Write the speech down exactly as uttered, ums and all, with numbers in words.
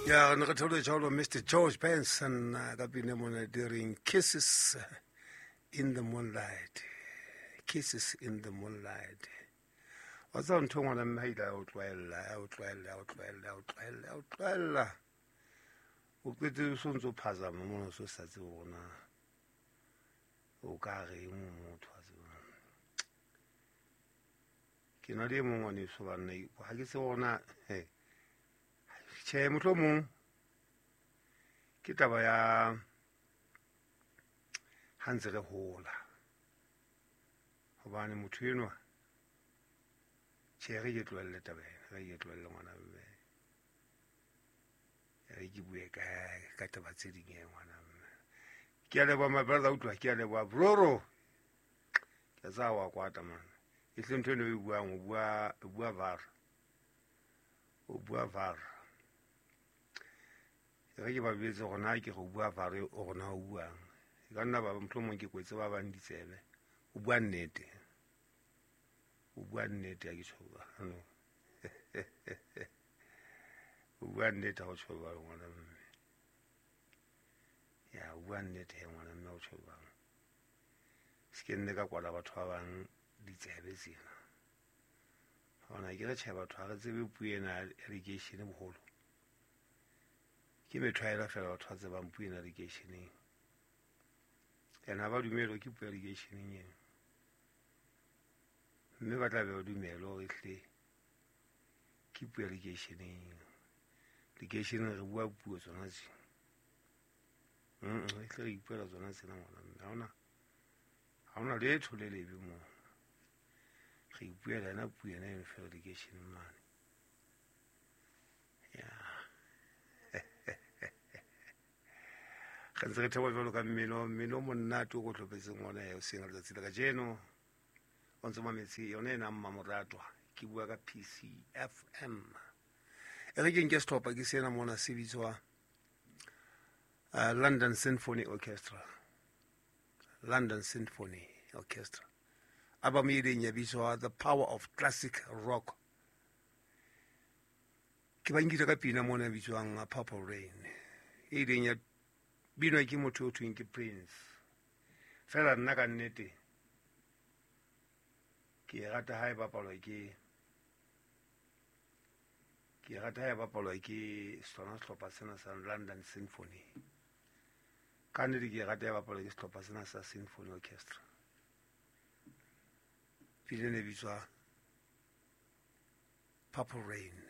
Ya re re theoletša Mister George Benson ka pina mona during Kisses in the Moonlight. Kisses in the Moonlight. Wa tseba ntho ngwana mme ha ile a o tlwaella, a o tlwaella, a o tlwaella, a o tlwaella, a o tlwaella. O qetetse o so ntso phazama mona o so sa tsebe hore na o ka reng motho wa tseba. Ke na le e mong ngwaneso banna, ha ke tsebe hore na tjhe mohlomong ke taba ya ha ntse re hola. Hobane motho enwa tjhe re ke tlohelle taba ena, re ke tlohelle ngwana mme. Re ke bue ka ka taba tse ding e ngwana mme. Ke a leboha my brother, utlwa ke a leboha broro. Ke tsa wa kwata man. E hle ntho eno e buang, o bua, o bua var. O bua var. Re ke ba betse hore na ke go bua var o rona o buang. E ka nna ba mohlomong ke kwetse ba bang ditsebe. O bua nnete. O bua nnete ha ke tjho jwalo. O bua nnete ha o tjho jwalo ngwana mme. Ya o bua nnete he ngwana mme ha o tjho jwalo. Se ke nne ka kwala batho ba bang ditsebe tsena. Hona ke re tjhe batho ha re tsebe puo ena ya lekeishene boholo. Ke methwaela fela batho ba tsebang puo ena lekeisheneng. Ene ha ba dumele ke puo ya lekeisheneng eno. Mme ba tla be ba dumele hore ehlile ke puo ya lekeisheneng. Lekeisheneng re bua puo tsona tse. Mm, ehlile re ipuela tsona tsena ngwana mme. Ha hona, ha hona letho le lebe moo. Re ipuela yona puo ena eno fela lekeisheneng mane. Ya. Re ntse re theoha jwalo ka mmino, mmino o monate o ko hlophetseng ona ya hoseng ka letsatsi la kajeno. O ntse mametse yona ena Mmamoratwa, ke bua ka P C F M. E re ke nke sehlopha ke sena mona se bitswa uh, London Symphony Orchestra. London Symphony Orchestra. Album e ileng ya bitswa The Power of Classic Rock. Ke ba nkile ka pina mona e bitswang Purple Rain. E ileng ya binwa ke motho o thweng ke Prince. Fela nna ka nnete ke e rata ha e bapalwa ke, ke e rata ha e bapalwa ke sona sehlopha sena sa London Symphony. Ka nnete ke e rata ha e bapalwa ke sehlopha sena sa Symphony Orchestra. Pina e bitswa Purple Rain.